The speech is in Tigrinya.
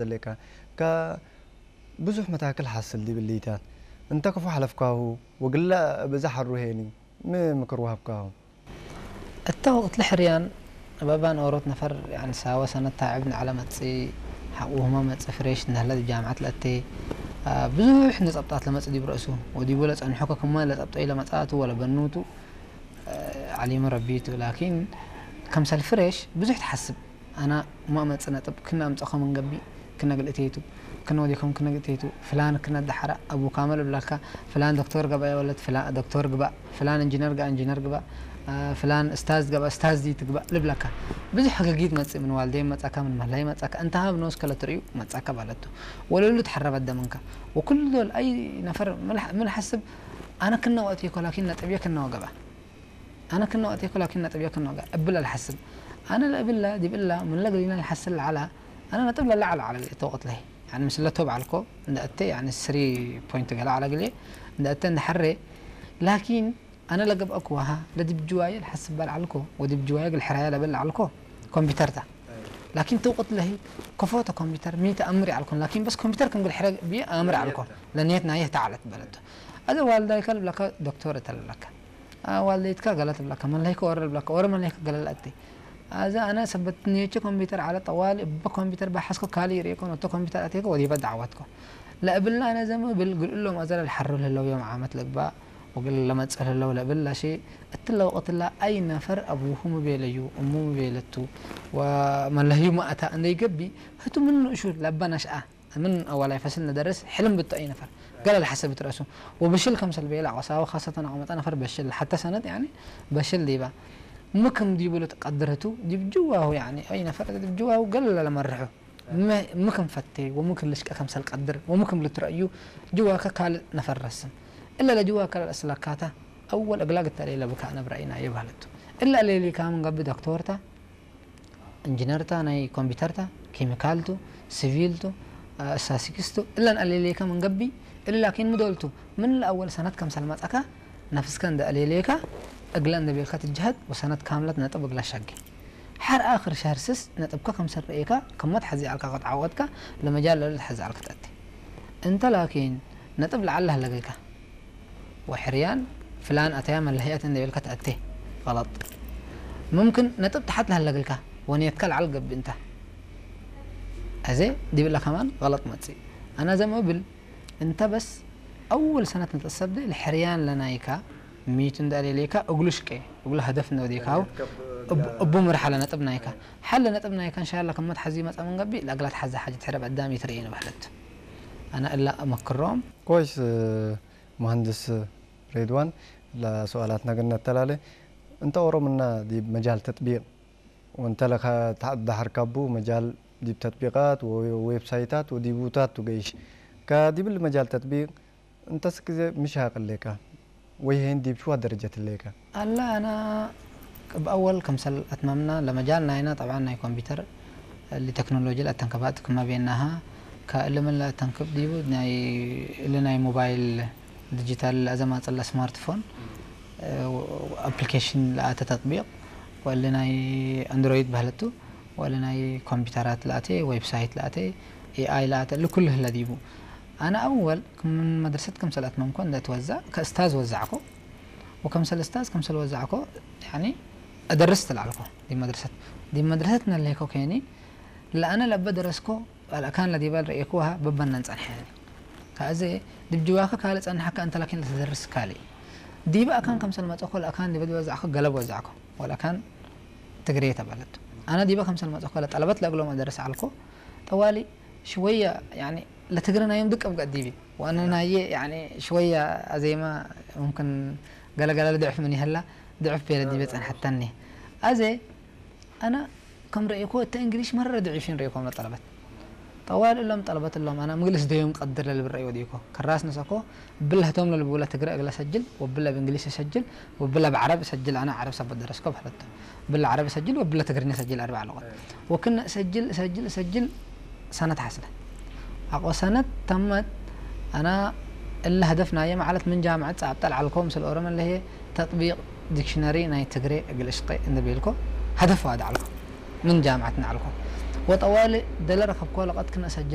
ዘለካ ካ ብዙሕ መታክል ሓስል ዲብል ሊታን እንተ ክፉ ሓለፍካሁ ወግላ ብዛ ሓሩ ሄኒ ምምክር ወሃብካሁ። እታ ወቅት ለሕርያን በባን ኦሮት ነፈር ያን ሳወ ሰነት ታዕብ ንዓለ መጽ ሓቁ ህማ መጽ ፍሬሽ ንህለ ጃምዓት ለእቴ ብዙሕ ንጸብጣት ለመጽ ዲብ ረእሱ ወዲቡ ለጸንሖ ከክማ ለጸብጦ ኢለ መጻቱ ወለ በኑቱ ዓሊሙ ረቢቱ ላኪን ከምሰል ፍሬሽ ብዙሕ ትሓስብ ኣና ማመጽ ነጥብ ክና ኣምጸኸ መንገቢ ክነግል እቴቱ ክነወዲኩም ክነግል እቴቱ ፍላን ክነዳሓራ ኣቡ ካመል ብላካ ፍላን ዶክተር ገባ የወለት ፍላን ዶክተር ግባ ፍላን ኢንጂነር ጋ ኢንጂነር ግባ ፍላን ስታዝ ገባ ስታዝ ዲ ትግባ ልብላካ ብዙሕ ሕግጊት መጽእ ምን ዋልደይ መጻካ ምን መላይ መጻካ እንተ ሃብ ነውስ ከለ ትርእዩ መጻካ ባለቱ ወለሉ ትሐረበት ደምንካ ወኩሉ ዶል ኣይ ነፈር ምን ሐስብ ኣነ ክነወ እቴኮ ላኪን ነጥብየ ክነወ ገባ ኣነ ክነወ እቴኮ ላኪን ነጥብየ ክነወ ገባ እብል ኣልሐስብ ኣነ ለእብላ ዲብላ ምን ለግሊና ልሐስል ለዓላ ኣነ ነጥብ ለለዓል ዓለ ተወቅት ለይ يعني ምስለቶ በዓልኮ እንደ እተ يعني ስሪ ፖይንት ገላ ዓለ ግሌ እንደ እተ እንደ ሐሬ ላኪን ኣነ ለገብአኩ ወሃ ለዲብ ጅዋየ ልሐስብ በል ዓልኮ ወዲብ ጅዋየ ግል ሕራየ ለበል ዓልኮ ኮምፒውተርታ ላኪን ተውቅት ለሂ ከፎተ ኮምፒውተር ሚተ ኣምር ዓልኮን ላኪን በስ ኮምፒውተር ከም ግል ሕረ ብየ ኣምር ዓልኮ ለንየት ናየ ተዓለት በለቶ ኣዘ ዋልዳይካ ልብለካ ዶክተር እተለለካ ዋልደይትካ ገለ ትብለካ መለይከ ወረ ልብለካ ወረ መለይከ ገለ ለእቲ ኣዘ ኣነ ሰበት ንየቸ ኮምፒውተር ዓለ ጠዋሊ እበ ኮምፒውተር ባሓስኮ ካሊ ይርእኮ ነቶ ኮምፒውተር ኣቴከ ወዲበ ዳዕዋትኮ ለእብላ ኣነ ዘምብል ግልእሎም ኣዘለ ልሓርብ ልህለው ዮም ዓመት ልግባእ ወግል ለመጽእ ልህለው ለእብላ ሺ እትለ ወቅትላ ኣይ ነፈር ኣቡሁ ምቤለዩ እሙ ምቤለቱ ወመለህዩ ማእታ እንደይገቢ ህቱ ምን ንእሹ ለባ ናሽኣ ምን ኣዋላይ ፈስል ንደርስ ሕልም ብቶ ኣይ ነፈር ገለ ልሓሰብ ትረእሱ ወብሽል ከምሰል ቤላ ቆሳዊ ካሰተን ኣቆመጣ ነፈር በሽል ሓተ ሰነት ያኒ በሽል ዲባ ምክም ዲብሉ ትቀድርቱ ዲብ ጅዋሁ ያኒ ኣይ ነፈር ዲብ ጅዋሁ ገለ ለመርሑ ምክም ፈቴ ወምክም ልሽቀ ከምሰል ቀድር ወምክም ልትረእዩ ጅዋከ ካልእ ነፈር ረስም እለ ለጅዋከ ለእስለካታ ኣወል እግላ ግተሌለ ብካ ነብረኢና የባህለቱ እለ ሌሊካ ምን ገብእ ዶክተርታ እንጅነርታ ናይ ኮምፒተርታ ኬሚካልቱ ሲቪልቱ ስታስቲክስቱ እለን ኣሌሌካ መንገቢ እለ ላኪን ምዶልቱ ምን ለኣወል ሰነት ከምሰል መጸካ ነፍስከ እንደ ኣሌሌካ እግለ እንደ ቤልካ ትጅሀድ ወሰነት ካምለት ነጥብ እግለ ሸጌ ሐር ኣኽር ሸህር ስስ ነጥብካ ከምሰል ረኤካ ከመት ሐዚ ኣልካ ክትዓወትካ ለመጃል ለሉ ትሐዚ ኣልካ ትኣቲ እንተ ላኪን ነጥብ ለዓል ለህለገልካ ወሕርያን ፍላን ኣተያ መለህያት እንደ ቤልካ ትኣቴ غلط ممكن ነጥብ ተሓት ለሃለግልካ ወንየትካ ለዓል ገብእ እንታ ኣዜ ዲብላ ከማን غلط መጽእ ኣና ዘም እብል እንተ በስ ኣወል ሰነት ንጠሰብ ለሕርያን ለናይካ ሚቱ እንደ ኣሌሌካ እግሉ ሽቀ እግሉ ሀደፍ እንደ ወዴካው እቡ ምርሓ ለነጥብ ናይካ ሓለ ነጥብ ናይካ እንሻላ ከመት ሓዚ መጻ መንገቢ ለእግላት ሓዚ ሓጅ ትሕረብ ኣዳም ይትርእየ ንባህለት ኣና እላ እመክሮም ኮይስ مهندس رضوان لسؤالات نقلنا التلالة انت ورمنا دي مجال تطبيق وانت لك دحر كابو مجال دي تطبيقات وويب سايتات ودي بوتات وقيش كدي بالمجال تطبيق انت سكزي مش هاقل لك ويهين دي بشوى درجة لك ኣላ ኣና ብኣወል ከምሰል ኣትማምና ለመጃል ናይና ጠብዓን ናይ ኮምፒተር ለቴክኖሎጂ ለኣተንከባጥ ክማ ቤናሃ ከእልምን ለኣተንክብ ዲቡ ናይ እሊ ናይ ሞባይል ዲጂታል ለኣዘማጽእ ለስማርትፎን ኣፕሊኬሽን ለኣተ ተጥቢቅ ወእሊ ናይ ኣንድሮይድ ባህለቱ ወእሊ ናይ ኮምፒተራት ለኣተ ዌብሳይት ለኣተ ኤኣይ ለኣተ እሊ ኩሉ ህለ ዲቡ ኣነ ኣወል ክምን መድረሰት ከምሰል ኣትመምኮ እንደ ትወዛእ ከእስታዝ ወዛዕኮ وكمسل أستاذ كمسل وزعكو يعني أدرست العلكو دي مدرسة دي مدرسة نلهيكو كيني لأنا لبا درسكو الأكان لدي بال رأيكوها ببنا نصنحيني كأزي دي بجواكا كالي صنحكا أنت لكن لتدرس كالي دي بقى كان كمسل ما تقول أكان دي بدي وزعكو قلب وزعكو والأكان تقريتا بلد أنا دي بقى كمسل ما تقول طلبت لأقلو مدرسة علكو طوالي شوية يعني لتقرنا يوم دك أبقى ديبي وأنا نايي يعني شوية أزيما ممكن قال قال ضعف مني هلا ضعف بيلا دي بيت حتى أني أزي أنا كم رأيكو أنت إنجليش مرة ضعيفين رأيكم لطلبت طوال اللهم طلبت اللهم أنا مجلس ديوم قدر للبرأي وديكو كراس نسكو ብለህቶም ለልብውላ ትግረ እግለ ሰጅል ወብለ ብእንግሊሽ ሰጅል ወብለ ብዓረብ ሰጅል ኣነ ዓረብ ሰብ ደረስኮ በህለቶ ብለ ዓረብ ሰጅል ወብለ ትግርኛ ሰጅል ኣርባ ኣለቆ ወክነ ሰጅል ሰጅል ሰጅል ሰነት ሓስለ ኣቆ ሰነት ተመት ኣና እለ ህደፍ ናየ ማለት ምን ጃምዐት ጻብጠል ዓልኮ ምስል ኦሮመ ለሄ ተጥቢቅ ዲክሽነሪ ናይ ትግሬ እግል እሽቀ እንደ ቤልኮ ህደፍ ዋድ ዓልኮ ምን ጃምዐት ንዓልኮ وطوالي دلر خبكو لقد كنا سجل